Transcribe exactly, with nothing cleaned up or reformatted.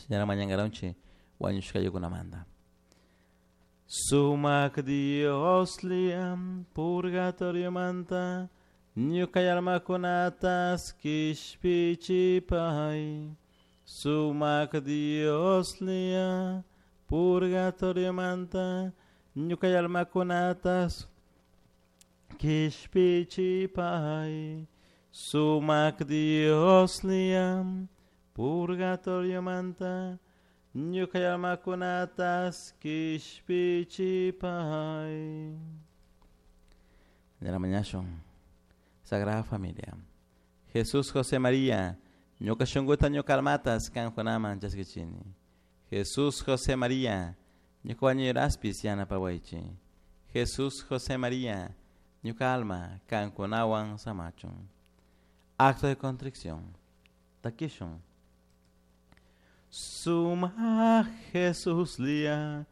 Señora mañangaronchi wañushkayukunamanta. Sumak Dios liam purgatoriomanta ñuka almakunatas kishpichipay. Sumak Dios lia purgatoriomanta ñuka almakunatas kishpichipay. Sumak Dios liam purgatoriomanta ñuka almakunatas kishpichipay. De la mañana Sagrada Familia. Jesús José María, ñuka shunkuta ñuka almatas kankunaman chaskichini. Jesús José María, ñuka wañuyraspis yanapawaychi. Jesús José María, ñuka alma kankunawan samachun. Acto de contrición. Takishun. Suma Jesús lia